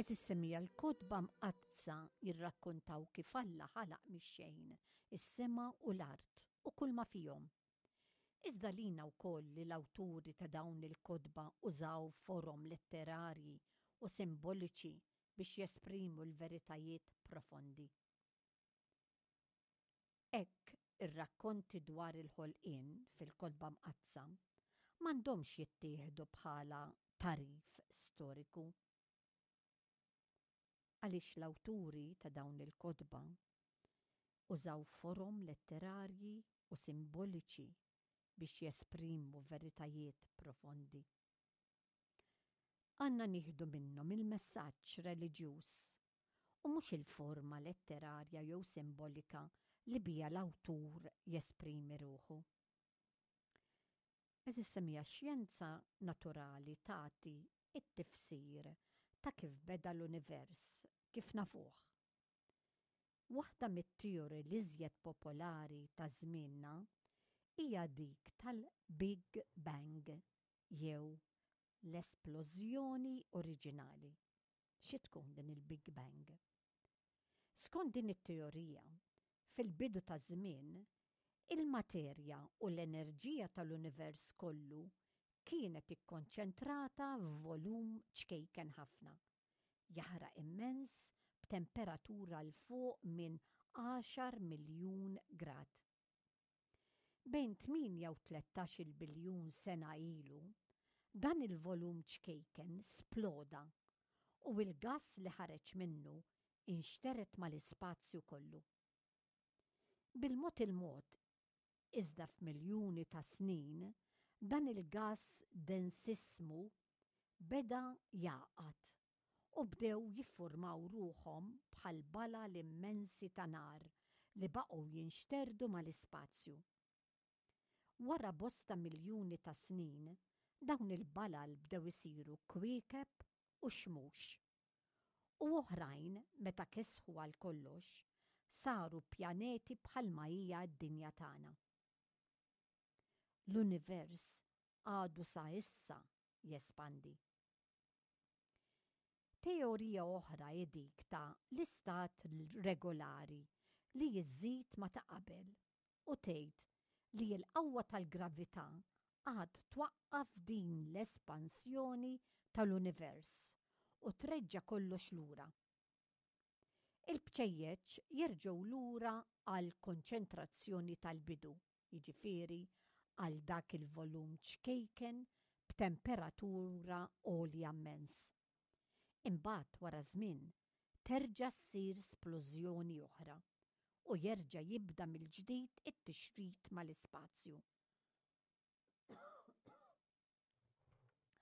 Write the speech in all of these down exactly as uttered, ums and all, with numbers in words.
Għeżież semmiegħa, l-Kotba Mqaddsa jirrakkontaw kif Alla ħalaq mix-xejn is-sema u l-art u kull ma fihom. Iżda lina wkoll li l-awturi ta' dawn il-kotba użaw forom letterarji u simboliċi biex jesprimu l-veritajiet profondi. Hekk ir-rakkonti dwar il-ħolqien fil-Kotba Mqaddsa m'għandhomx jittieħdu bħala tagħrif storiku. Għaliex l-awturi ta' dawn il-kotba użaw forom letterarji u simboliċi biex jesprimu veritajiet profondi. Għandna nieħdu minnhom il-messaġġ reliġjuż u mhux il-forma letterarja jew simbolika li biha l-awtur jesprimi ruħu. Għeżież semmiegħa, xjenza naturali tagħti it-tifsir ta' kif beda l-univers kif nafuh. Waħda mit-teoriji l-iżjed popolari ta' żmienna hija dik tal-Big Bang jew l-esplożjoni oriġinali. Xi tkun din il-Big Bang? Skont din it-teorija, fil-bidu ta' żmien, il-materja u l-enerġija tal-univers kollu kienet ikkonċentrata f'volum ċkejken ħafna, jaħraq immens b'temperatura 'l fuq minn għaxar miljun grad. Bejn tmienja u tlettax-il biljun sena ilu, dan il-volum ċkejken sploda u il-gas li ħareġ minnu inxteret mal-ispazju kollu. Bil-mod il-mod, iżda f'miljuni ta' snin, dan il-gas densissmu beda jagħqad u bdew jiffurmaw ruħhom bħal balal immensi ta' nar li baqgħu jinxterdu mal-ispazju. Wara bosta miljuni ta' snin, dawn il-balal bdew isiru kwiekeb u xmux. U oħrajn, meta kesħu għal kollox, saru pjaneti bħalma hija d-dinja tagħna. L-univers għadu sa issa jespandi. Teorija oħra hi dik ta' l-istat regolari li jiżid ma ta' qabel u tgħid li l-qawwa tal-gravità għad twaqqaf din l-espansjoni tal-univers u treġġa' kollox lura. Il-bċejjeċ jerġgħu lura għal konċentrazzjoni tal-bidu, jiġifieri għal dak il-volum ċkejken b'temperatura għolja immens. Imbagħad wara żmien terġa' ssir splużjoni oħra u jerġa' jibda mill-ġdid it-tixrid mal-ispazju.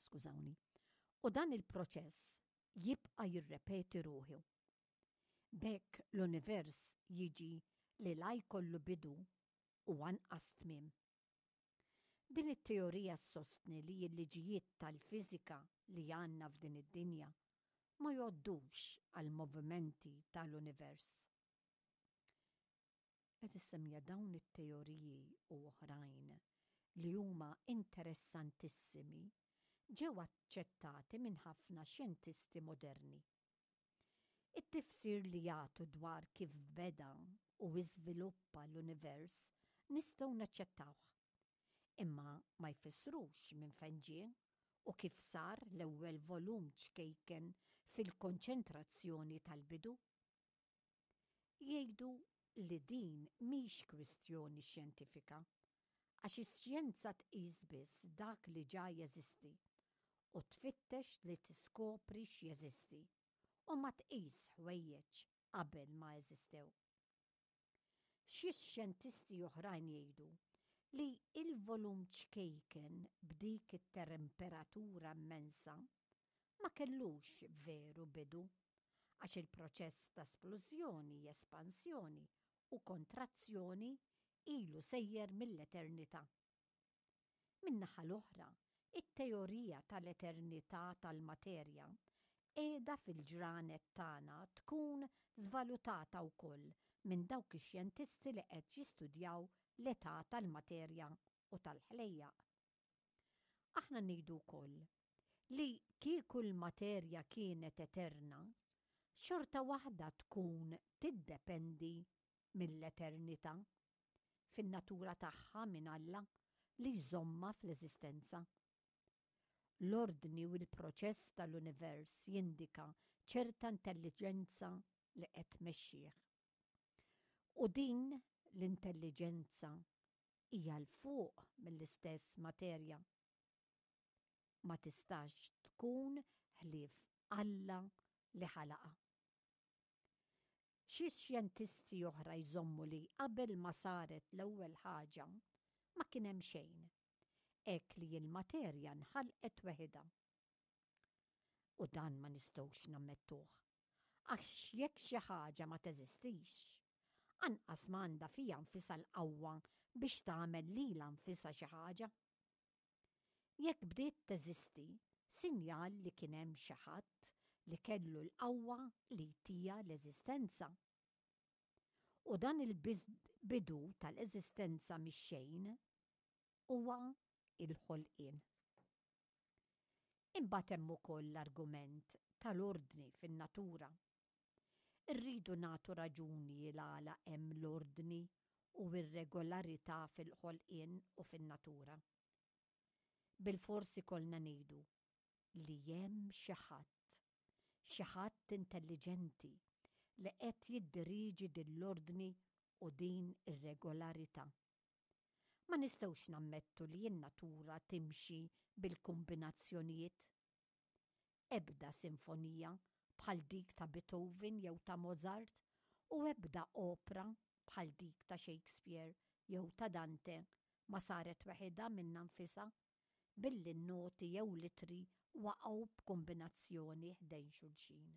Skużawni. U dan il-proċess jibqa' jirrepeti ruħu. B'hekk l-univers jiġi li la jkollu bidu u anqas tmiem. Din it-teorija ssostni li l-liġijiet tal-fiżika li għandna f'din id-dinja ma jgħoddux għal movimenti tal-univers. Għeżież semmiegħa, dawn it-teoriji u oħrajn li huma interessantissimi ġew aċċettati minn ħafna xjentisti moderni. It-tifsir li jagħtu dwar kif beda u iżviluppa l-univers nistgħu naċċettawh. Imma ma jfissrux minn fejn ġie u kif sar l-ewwel volum ċkejken fil-konċentrazzjoni tal-bidu. Jgħidu li din mhix kwistjoni xjentifika, għax ix-xjenza tqis biss dak li ġa jeżisti u tfittex li tiskopri x'jeżisti u ma tqis ħwejjeġ qabel ma eżistew. Xi xjentisti oħrajn jgħidu li il-volum ċkejken b'dik it-temperatura immensa ma kellux veru bidu, għax il-proċess ta' splużjoni, espansjoni u kontrazzjoni ilu sejjer mill-eternità. Min-naħa l-oħra, it-teorija tal-eternità tal-materja qiegħda fil-ġranet tagħna tkun żvalutata wkoll minn dawk ix-xjentisti li qed jistudjaw l-età tal-materja u tal-ħlejjaq. Aħna ngħidu wkoll Li kieku l-materja kienet eterna, xorta waħda tkun tiddependi mill-eternità fin-natura tagħha minn Alla li jżommha fl-eżistenza. L-ordni u l-proċess tal-univers jindika ċerta intelliġenza li qed tmexxih. U din l-intelliġenza hija 'l fuq mill-istess materja. Ma tistax tkun ħlief Alla li ħalaqha. Xi xjentisti oħra jżommu li qabel ma saret l-ewwel ħaġa ma kien hemm xejn, hekk li l-materja nħalqet weħidha. U dan ma nistgħux nammettuh, għax jekk xi ħaġa ma teżistix, anqas ma għandha fiha nfisha l-qawwa biex tagħmel lilha nfisha xi ħaġa. Jekk bdiet teżisti, sinjal li kien hemm xi ħadd li kellu l-qawwa li jtiha l-eżistenza. U dan il-bidu tal-eżistenza mix-xejn huwa il-ħolqien. Imbagħad hemm ukoll l-argument tal-ordni fin-natura. Irridu nagħtu raġuni l-għala hemm l-ordni u r-regolarità fil-ħolqien u fin-natura. Bilfors ikollna ngħidu li hemm xi ħadd, xi ħadd intelliġenti li qed jiddirieġi din l-ordni u din ir-regolarità. Ma nistgħux nammettu li n-natura timxi bil-kombinazzjonijiet. Ebda sinfonija bħal dik ta' Beethoven jew ta' Mozart u ebda opra bħal dik ta' Shakespeare jew ta' Dante ma saret weħidha minnha nfisha billi n-noti jew l-ittri waqgħu b'kombinazzjoni ħdejn xulxin.